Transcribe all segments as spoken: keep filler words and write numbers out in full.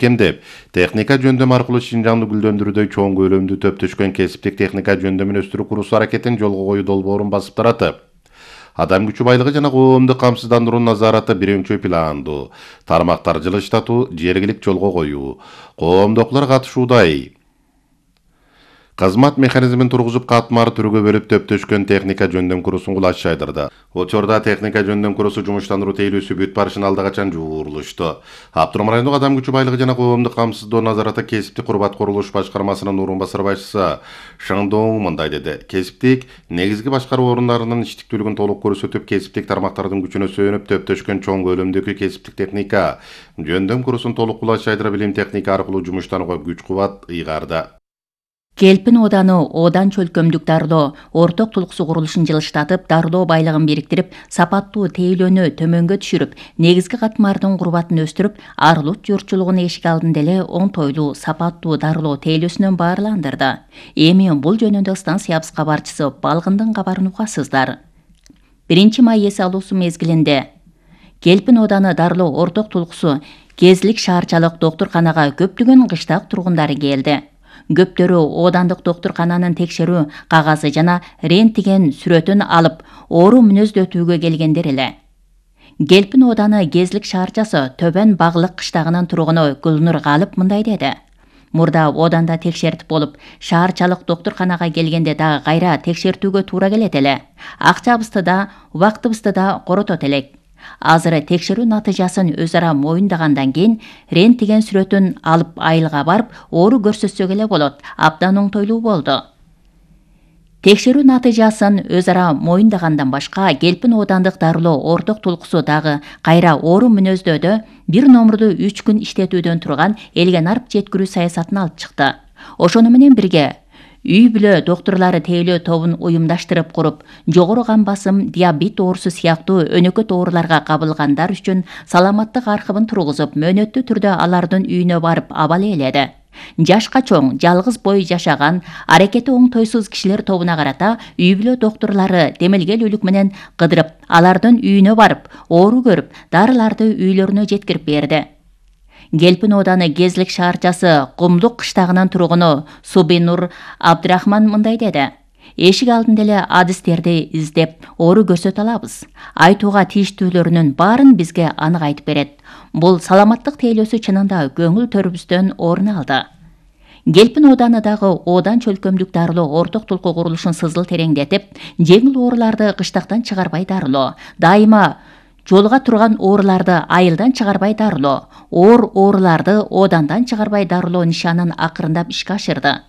Кемдеп, техника жөндөм аркылуу Шинжаңды гүлдөндүрүүдө чоң көлөмдүү төптөшкөн кесиптик техника жөндөмүн өстүрүү курусу аракетин жолго коюу долбоорун басып таратып. Адам күчү байлыгы жана коомдук камсыздандыруу назараты биринчи пландуу, тармактар жылыштатуу, жергилик жолго коюу, коомдокулар катышуудай. Кызмат механизмин тургузуп катмар түргө бөлүп төптөшкөн техника жөндөм курусун кулаш жайдырды. Учурда техника жөндөм курусу жумуштандыруу тейлөөсү бүт барышын алда качан жуурулушту. Аптурам райондук адам күчү байлыгы жана коомдук камсыздоо назараты кесиптик курбат курулуш башкармасынын орун басар башчысы Шаңдоң мындай деди. Кесиптик негизги башкаруу орундарынын иштиктүүлүгүн толук көрсөтүп, кесиптик тармактардын күчүнө сүйөнүп төптөшкөн чоң көлөмдөгү кесиптик техника жөндөм курусун толук кулаш жайдыра билим техника аркылуу жумуштанууга күч кубат ыйгарды. Келпин ооданы оодан чөлкөмдүк дарылоо орток тулкусу курулушун жылыштатып, дарылоо байлыгын бириктирип, сапаттуу тейлөөнү төмөнгө түшүрүп, негизги катмардын курбатын өстүрүп, арылут журтчулугун эшик алдында эле оңтойлуу, сапаттуу дарылоо тейлөөсүнөн баарландырды. Эми бул жөнүндө станция кабарчысы Балгындын кабарын угасыздар. биринчи май эс алуусу мезгилинде Келпин ооданы дарылоо орток тулкусу Кезлик шаарчалык доктурканага көптөгөн кыштак тургундары келди. Көптөрү оодандык доктуркананын текшерүү кагазы жана рентген сүрөтүн алып, оору мүнөздөтүүгө келгендер эле. Келпин ооданы Кезлик шаарчасы Төбөн Баглык кыштагынын тургуну Гүлнур Галып мындай деди. Мурда ооданда текшертип болуп, шаарчалык доктурканага келгенде дагы кайра текшертүүгө туура келет эле. Акчабызды да, убактыбызды да коротот элек. Азыр текшерүү натыйжасын өз ара моюндагандан кийин рентген сүрөтүн алып айылга барып, оору көрсөтсөк эле болот. Абдан оңтойлуу болду. Текшерүү натыйжасын өз ара моюндагандан башка Келпин оодандык дарылоо орток тулкусу дагы кайра оору мүнөздөдө бир номурду үч күн иштетүүдөн турган элген арп жеткирүү саясатын алып чыкты. Ошону менен бирге үй бүлө доктурлары тейлөө тобун уюмдаштырып куруп, жогору кан басым, диабет оорусу сыяктуу өнөкөт ооруларга кабылгандар үчүн саламаттык архивин тургузуп, мөөнөттүү түрдө алардын үйүнө барып абал ээледи. Жашка чоң, жалгыз бой жашаган, аракети оңтойсуз кишилер тобуна карата үй бүлө доктурлары демелгелүүлүк менен кыдырып, алардын үйүнө барып, оору көрүп, дарыларды үйлөрүнө жеткирип берди. Келпин ооданы Кезлик шаарчасы Кумдук кыштагынын тургуну Субинур Абдрахман мындай деди. Эшик алдында эле адистерди издеп, оору көрсөтө алабыз. Айтууга тийиштүүлөрүнүн баарын бизге анык айтып берет. Бул саламаттык тейлөөсү чынында көңүл төрүбүздөн орун алды. Келпин ооданы дагы оодан чөлкөмдүк дарылоо орток тулку курулушун сызыл тереңдетип, жеңил ооруларды кыштактан чыгарбай дарылоо, дайыма жолуга турган ооруларды айылдан чыгарбай дарылоо, оор ооруларды оодандан чыгарбай дарылоо нишанын акырындап ишке ашырды.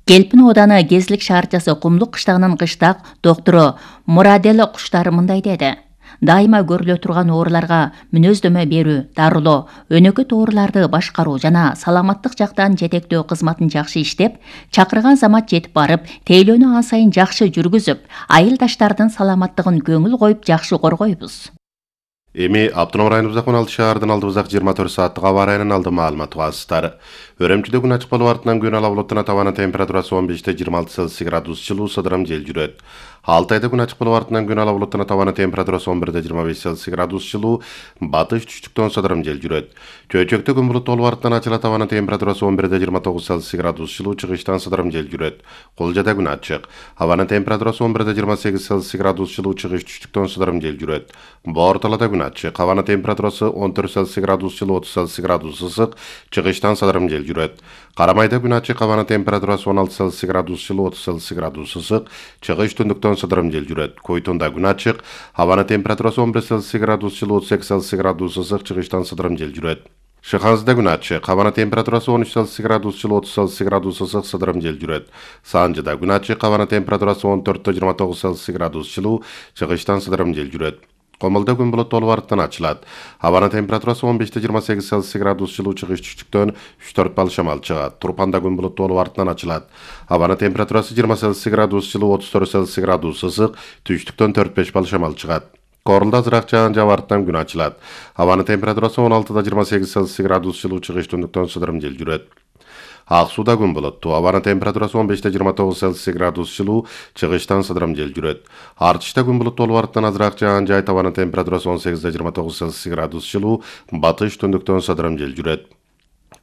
Келпин ооданы Кезлик шаарчасы Кумдук кыштагынын кыштак доктуру Мурадел Куштар мындай деди. Дайыма көрүлө турган ооруларга мүнөздөмө берүү, дарылоо, өнөкөт ооруларды башкаруу жана саламаттык жактан жетектөө кызматын жакшы иштеп, чакырган замат жетип барып, тейлөөнү ан сайын жакшы жүргүзүп, айылдаштардын саламаттыгын көңүл коюп жакшы коргойбуз. Эми Аптурам районубуздагы он алты шаардын алдыбыздагы жыйырма төрт сааттык аба ырайынын алды маалыматы угасыздар. Өрөмчүдө күн ачык болуп артынан күн ала булуттана табаны температурасы он беште жыйырма алты Цельсий градус жылуу сыдырым жел жүрөт. Алтайда күн ачык болуп артынан күн ала булуттана табаны температурасы он бирде жыйырма беш Цельсий градус жылуу, батыш түштүктөн сыдырым жел жүрөт. Чөйчөктө күн булуттуу болуп артынан ачыла табаны температурасы он бирде жыйырма тогуз Цельсий градус жылуу, чыгыштан сыдырым жел жүрөт. Кулжада күн ачык. Абанын температурасы он бирде жыйырма сегиз Цельсий градус жылуу, чыгыш түштүктөн сыдырым жел жүрөт. Борталада күн ачык. Абанын температурасы он төрт Цельсий градус жылуу, отуз Цельсий градус ысык, чыгыштан сыдырым жел жүрөт. Карамайда күн ачык. Абанын температурасы он алты Цельсий градус жылуу, отуз Цельсий градус ысык, чыгыш түндүктөн сыдырым жел жүрөт. Койтунда күн ачык. Абанын температурасы он бир Цельсий градус жылуу, отуз эки Цельсий градус ысык, чыгыштан сыдырым жел жүрөт. Шыханзыда күн ачык. Абанын температурасы он үч Цельсий градус жылуу, отуз Цельсий градус ысык, сыдырым жел жүрөт. Санжыда күн ачык. Абанын температурасы он төрттө жыйырма тогуз Цельсий градус жылуу, чыгыштан сыдырым жел жүрөт. Комулда күн булуттуу болуп артынан ачылат. Абанын температурасы он беште жыйырма сегиз Цельсий градус жылуу, чыгыш түштүктөн үч төрт балл шамал чыгат. Турпанда күн булуттуу болуп артынан ачылат. Абанын температурасы жыйырма Цельсий градус жылуу, отуз төрт Цельсий градус ысык, түштүктөн төрт беш балл шамал чыгат. Корулда азыраак жаан жаап артынан күн ачылат. Абанын температурасы он алтыда жыйырма сегиз Цельсий градус жылуу, чыгыш түндүктөн сыдырым жел жүрөт. Ак сууда күн булуттуу. Абанын температурасы он беште жыйырма тогуз Цельсий градус жылуу, чыгыштан сыдырым жел жүрөт. Артышта күн булуттуу болуп артынан азыраак жаан жаайт. Абанын температурасы он сегизде жыйырма тогуз Цельсий градус жылуу, батыш түндүктөн сыдырым жел жүрөт.